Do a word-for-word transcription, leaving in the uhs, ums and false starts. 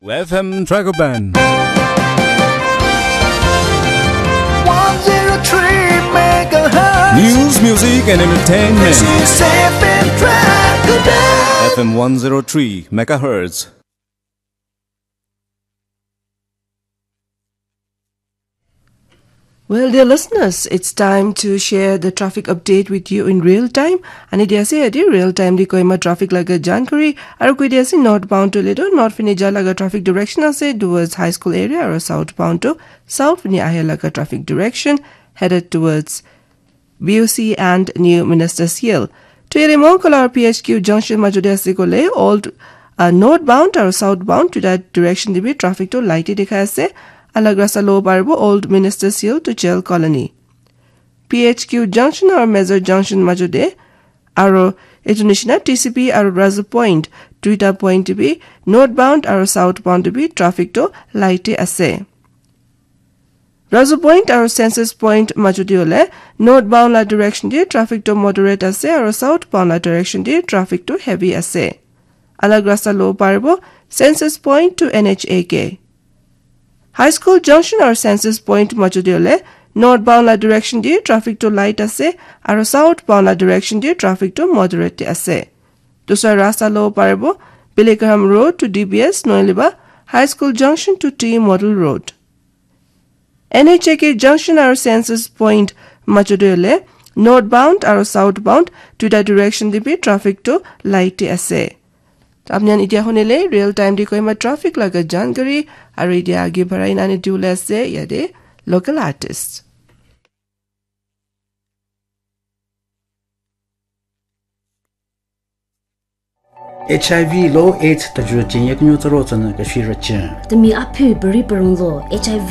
F M Dragoban. one zero three megahertz. News, music, and entertainment. This is F M Dragoban. F M one zero three megahertz. Well, dear listeners, it's time to share the traffic update with you in real time. Ani dia ase yate real time di Kohima traffic laga jankari. Aru koi dia ase northbound to ledo north fini ja laga traffic direction ase towards high school area aru southbound to south fini ahe laga traffic direction headed towards B O C and New Minister Seal. To yate Mongkol aru P H Q junction majute ase kole old uh, northbound aru southbound to that direction dibi traffic to light dikhai ase. Alag rasta lo paribo old Minister Seal to Jail Colony. P H Q junction aru Major junction majute aru etu nishina T C P aru Razu Point duita point dibi northbound aru southbound dibi traffic to light ase. Razu Point aru Census Point majute ole northbound la direction di traffic to moderate ase aru southbound la direction di traffic to heavy ase. Alag rasta lo paribo Census Point to N H A K. High School Junction aru Census Point majute ole northbound la direction di traffic to light ase aru southbound la direction di traffic to moderate ase. Dusra rasta lo paribo Billy Graham Road to D B S noiliba High School Junction to T Model Road. N H A K junction aru Census Point majute ole northbound aru southbound duita direction dibi traffic to light ase. Apni khan etia hunile real time di Kohima traffic laga jankari aru etia age barai nani diule ase yate local artist. H I V lo AIDS tajuru chen yak nyu taro tsana ka shi ra chen. Temi aphu bari parung lo H I V